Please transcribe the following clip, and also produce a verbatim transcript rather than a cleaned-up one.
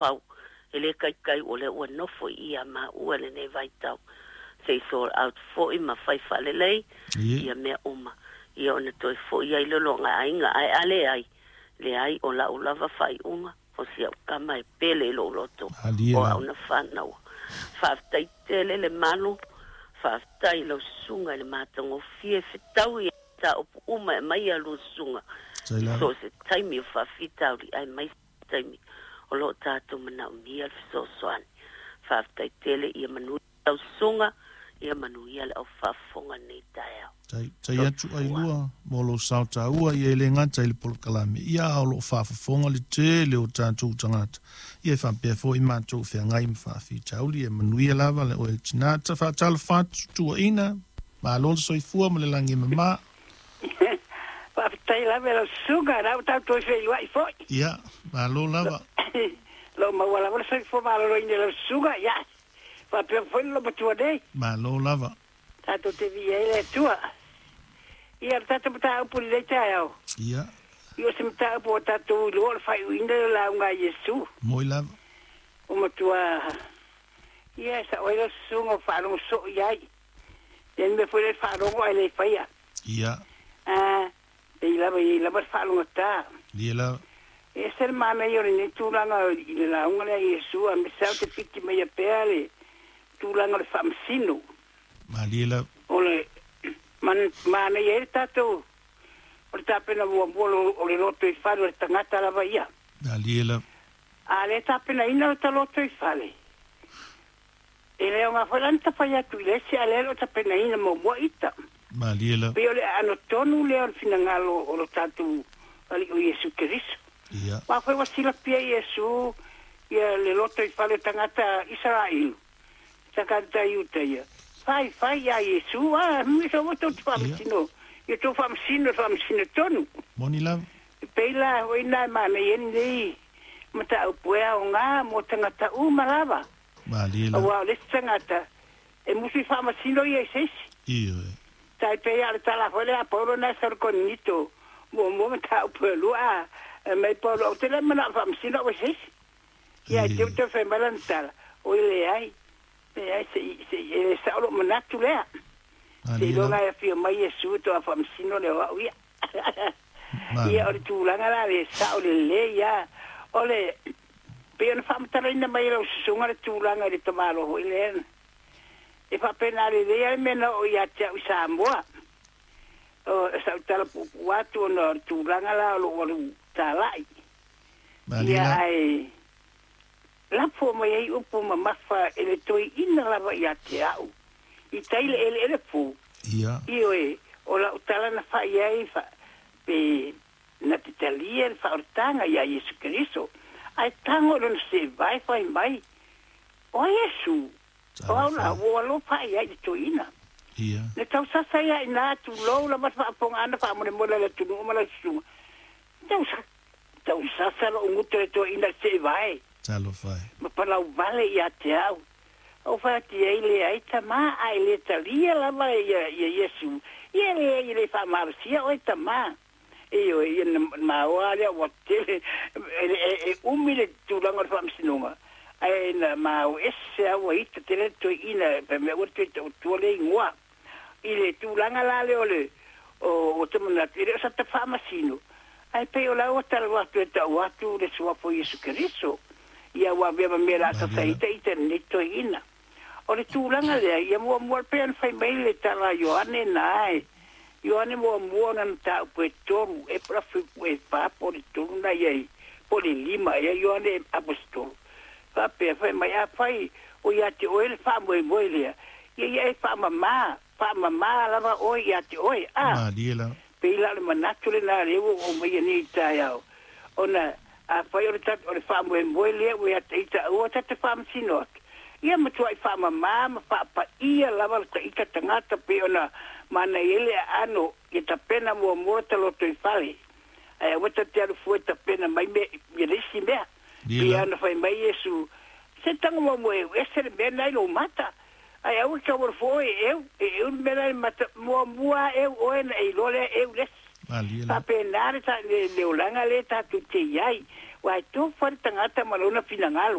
Pau e le kaikai o le ua nofo i ia maua lenei vaitau se i sort out fo'i ma fai faalelei ia mea uma ia ona toe fo'i ai le loga aiga ae a leai leai o la'u lava faaiuga o si a'u kama e pele i lo'u loto o a'u na fanaua. Faafetai tele le malu, faafetai lau susuga i le matagofie fetaui mataupu uma e aumai a lua susuga i so o se taimi o faafitauli aemaise taimi o loo tatou manaomia le fesoasoani. Faafetai tele, ia manuia lau susuga, ia manuia le aufaafofoga lenei taeao. Tai, tai atu ai lua mo lou sao taua ia e le gata i le polokalame ia a o loo faafofoga le tele o tatou tagata ia e faapea foi matou feagai ma faafitauli. E manuia lava le oe le tinā ta faatalofa atu tuuaina malo le soifua ma le lagi e mamā. Faafetai lava lau susuga la ua tatou feiloai fo'i. Ia malo lava. Lou maua lava le soifua maloloina i lau susuga ia faapea foi le lomatua nei. Malo lava. Tatou te viia ai le Atua. Ia le tatou mataupu i lenei taeao. Ia. Ia o se mataupu ua tatou iloa o le faaiuina o le lauga a Iesu. Moi lava. Ua matua ia e sa'o ai lau susuga o faalogo soo i ai. Ia le mea foi lea le faalogo ae le faia. Ia. A pei lava i ai lava le faalogotā. Ia lava. E ese le manaia o lenei tulaga i le lauga lea a Iesu a me sau te piki mai pea le tulaga o le faamasino. Malie lava. O le manaia ai le tatou o le tapena muamua o le loto i fale o le tagata lava ia. Malie lava. A le tapenaina o ta loto i fale, e le aoga foi la ona tafai atu i le isi a lea e le o tapenaina muamua ita. Malie lava. Pei o le aano tonu lea o le finagalo o lo tatou Alii o Iesu Keriso. Ia. Aua foi ua silafia e Iesu ia le loto i fale o tagata Isaraelu, tagata Iuta ia. Fai fai ia Iesu a me sa ua tou te faamasino ia tou faamasino le faamasino tonu. Moni lava. E pei la o i ina e manaia ai lenei mataupu e aoga mo tagata uma lava. Malie lava. Aua o le isi tagata e musu i faamasino ia i se isi. Ioe. Tai pei lava o le tala foi lea a Paulo na e sau i le Korinito muamua mataupu e lua a mai Paulo ou te le manao e faamasino au i se isi. Ia ae te i ua toe fai mai lana tala, oi leai, leai se i se i e le sao lou manatu lea. Malie lava. Seiloga e afio mai Iesu faatoa faamasino lea o au ia. Ia o le tulaga la le sao lelei lava o le pei ona faamatalaina mai e lau susuga le tulaga i le tamaloa foi lea. E faapena lelei lava le mea na oo ia te au i Samoa. O sau tala puupuu atu ona o le tulaga la o lou alu talai. Malie Ia lava. ae lafo mai ai upu mamafa e le toeaina lava ia te au i tai le eleele fou. Ia. Ioe, o lau tala na fai ai fa, pe na te talia le faaolataga iā Iesu Keriso, ae tago i lona seevae fai mai, O ai Iesu? O au la, Talofa. ua ou alofa i ai i le toeaina. Ia. Na tausasa ai lava i ina, tulou lava le faafofogaaga faamolemole a le atunuu ma lau susuga. Tausa, tausasa lou gutu i le toeaina i le seevae. Talofa e. Ma palauvale ia te au. Ou fai atu i ai, Leai, tamā, a e le talia lava ia, ia Iesu, ia leai e le faamalosia oe, tamā. Ioe, ia na maoa lea ua tele, e, e, e umi le tulaga o le faamasinoga, ae na mao ese lava ua ita tele le toeaina, fai mai aua le toe tautua le igoa. I le tulaga la lea o le, o, o te manatu, e le o sata faamasino, ae pei o la ua talanoa atu e tau atu le Suafa o Iesu Keriso, ia ua avea ma mea o le a Malie sasa lava. ita ita i lenei toeaina. O le tulaga lea, ia muamua pei ona fai mai le tala a Ioane na e, Ioane muamua ona mataupu e tolu, e po o le afi e fa po o le tolu na i ai, po o le lima ea Ioane Aposetolo. Faapea fai mai, afai o ia te oe le faamoemoe lea, ia ia e faamamā, faamamā lava oe ia te oe, a. Malie lava. Pei la o le manatu lenā lea ua ou aumaia nei i le taeao, ona afai o le ta, o le faamoemoe lea ua ia te ita aua ta te faamasino atu, ia matuai faamamā ma faapaia lava le taita tagata pei ona manaia ai le aano ia tapena muamua ta lotoifale, ae aua ta te alu fua e tapena mai mea ia le isi mea. Malie Pei lava. ona fai mai Iesu, Se tago muamua e ese le mea lena i lou mata, ae aua e tau alu fua oe e eu, e eu le mea lena i le mata, muamua lava eu oe ona e iloa lea e eu le isi. Malie lava. Faapena le ta, le, le olaga lea tatou te i ai. Uae tofu le tagata ma lona finagalo.